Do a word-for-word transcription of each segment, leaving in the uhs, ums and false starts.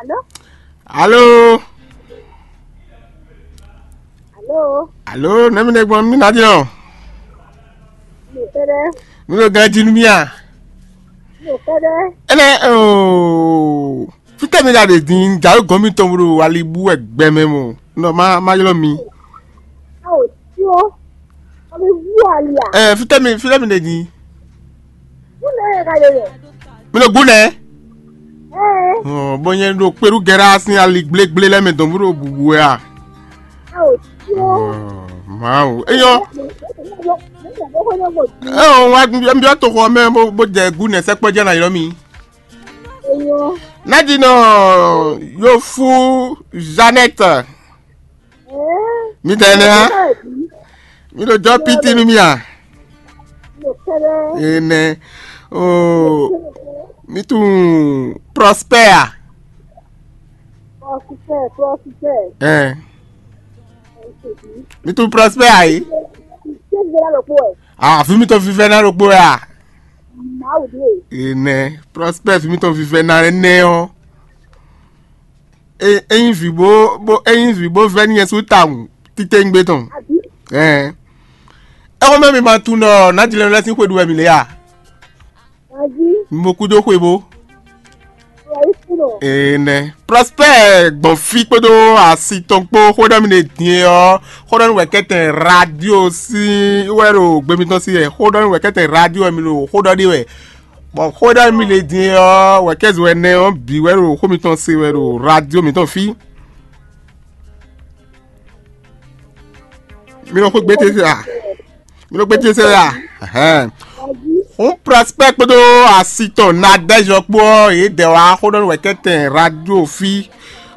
Alo. Alo. Alo. Alo, nɛ̌ mi ɖe gbɔn mì ná din ɔ́? Mi kɛ́ɖɛ́. Mi ɖo ganjí nú mì a? Mi kɛ́ɖɛ́. Énɛ́ ooo, fítɛ́ mi ɖa ɖe din, jǎwe gɔ́n mitɔn bó ɖo ali bú wɛ gbɛmɛ mɔ, nɔ má má ylɔ́ mi. Ao, tyo. Ami wú ali a? Ɛ, fítɛ́ mi fítɛ́ mi ɖe din. Wú nɛ ɛ ka ɖe yɛ? Mi ɖo gúnɛ? Ɛ. Ɔ, bó nyɛ ɖo kpeɖú gɛ́rá sín ali gblégblé lɛ́ɛ mɛ dɔn bó ɖo bǔbú wɛ a? Ao, tyo. Ɔ, Mawu. Eyɔ. Ɛ, ɔ, wa nbyɔ́ toxo ɔ́ mɛ bó bó jɛ gúnɛ sɛkpɔ́ jɛ ná ylɔ́ mi. Eyɔ. Nádinɔ Yofu Jeannette. Ɛ. Mi da ɛnɛ ha? Mi ɖo jɔ piti nú mi a? Ene. Oh, mi tunun Prosper a? Prosper, Prosper. Ɛ. Mi tunun Prosper a yi? Ah, fi mi tɔn fifɛ na ɖokpó ya. Ene. Prosper fi mi tɔn fifɛ na nɛ ɔ. E, ényí vǐ bó bó ényí vǐ bó vɛ́ n'i nyɛ sú tawun titewungbe tɔn. Ɛɛ. Ɛxɔ́ mɛ mi ma tunwun ɖɔ Nǎjlɛ́nu lɛ́ɛ sín xwe ɖu wɛ mǐ lě a? Mi bo kú dó xwe bó. Ee nɛ. Prosper gbɔn fí kpódó asi tɔn kpó xó ɖɔ mi ɖe din e ɔ́, xó ɖɔ nú wɛ̌kɛ́tɛn radio sín wɛ ɖo gbe mitɔn sí wɛ. Xó ɖɔ nú wɛ̌kɛ́tɛn radio wɛ mi ɖo xó ɖɔ ɖe wɛ. Bɔ xó ɖɔ mi le din ɔ́, wɛ̌kɛ́zun ɛnɛ ɔ́ bǐ wɛ ɖo xó mitɔn se wɛ ɖo radio mitɔn fí. Mi nɔ xó gbé ce se a? Mi nɔ gbé ce se a? Ɛhɛn. Xó Prosper kpódó asi tɔn Nadège ɔ́ kpó ɔ́, yě dɛ wá xó ɖɔ nú wɛ̌kɛ́tɛn radio fí.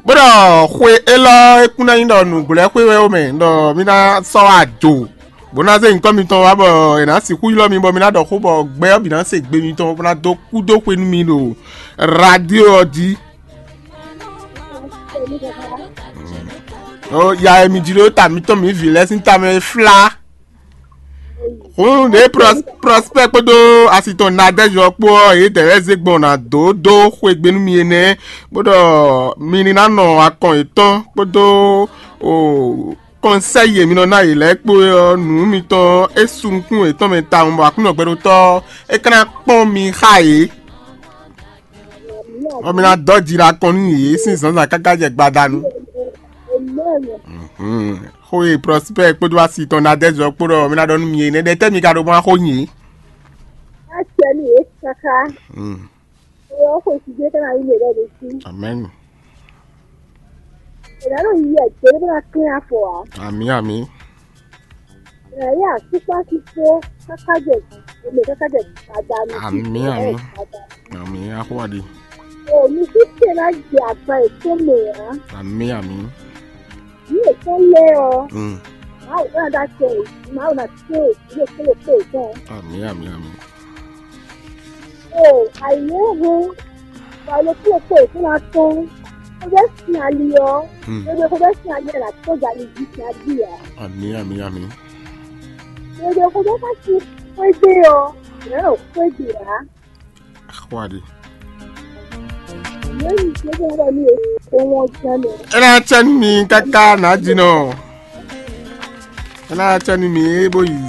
Bó ɖɔ xwe élɔ́ é kún ná nyí ɖɔ nǔgblɛ́xwe wɛ ó mɛ, ɖɔ mí ná sɔ́ wá do. Bó ná zé nyǐkɔ mitɔn wá bɔ è nǎ sixú ylɔ́ mi bɔ mi ná ɖɔ xó bɔ gbɛ ɔ́ bǐ ná se gbe mitɔn bó ná dó kú dó xwe nú mi ɖo radio ɔ́ jí. Ó ya e mi jló ta mitɔn mi vǐ lɛ́ɛ sín tamɛ e flá. Hǔn ɖě Prosper kpódó asi tɔn Nadège ɔ́ kpó ɔ́, yě dɛ̌ lɛ́ɛ zé gbɔn ná dó dó xwe gbe nú mi énɛ́, bó ɖɔ mi ní ná nɔ akɔn yětɔn kpódó o kɔnsɛ́yi e mi nɔ ná yě lɛ́ɛ kpó é ɔ́, nǔ mitɔn é su nukún yětɔn mɛ tawun, bɔ Aklúnɔ gbɛɖótɔ́ ɔ́, é ka ná kpɔ́n mi xá yě, bɔ mi ná dɔ́ ji ɖo akɔn nú yě sín zǎnzǎn káká jɛ gbadanu. Xó e Prosper kpódó asi tɔn Nadège ɔ́ kpó ɖɔ mi ná ɖɔ nú mi é nɛ́ ɖɛtɛ́ mi ka ɖo mɔ xó nyi é. Acɛ nú yě káká. Ewɔ xwe si dé kana yi mɛ ɖe ɖe si. Amɛn. Ena ɖo yi yɛ dé ɖe bena klɛn afɔ a. Amì amì. Ena yi asukpa si kpó kaka jɛ eme kaka jɛ gbada mi. Amì amì. Amì axɔaɖi. O mi si tɛ na jɛ agba etɔn mɛ a. Amì amì. Ní ètò lé ọ. Mm. Máa wò náà dá tẹ, máa wò náà tẹ, ilé ìpínlẹ̀ pé ìtàn. Àmì àmì àmì. O àìní hu wà ló kúrò pé ìtàn náà tán. Ó fẹ́ sin ali ọ. Mm. Gbogbo kó fẹ́ sin ali ẹ̀ là tó jà ní ibi sin ali à. Àmì àmì àmì. Gbogbo kó fẹ́ ká sí pédé ọ. Ìyá náà pédé à. Axɔaɖi. Ena tsɛ nú mi káká nǎ jinɔ. Ena tsɛ nú mi bó yi.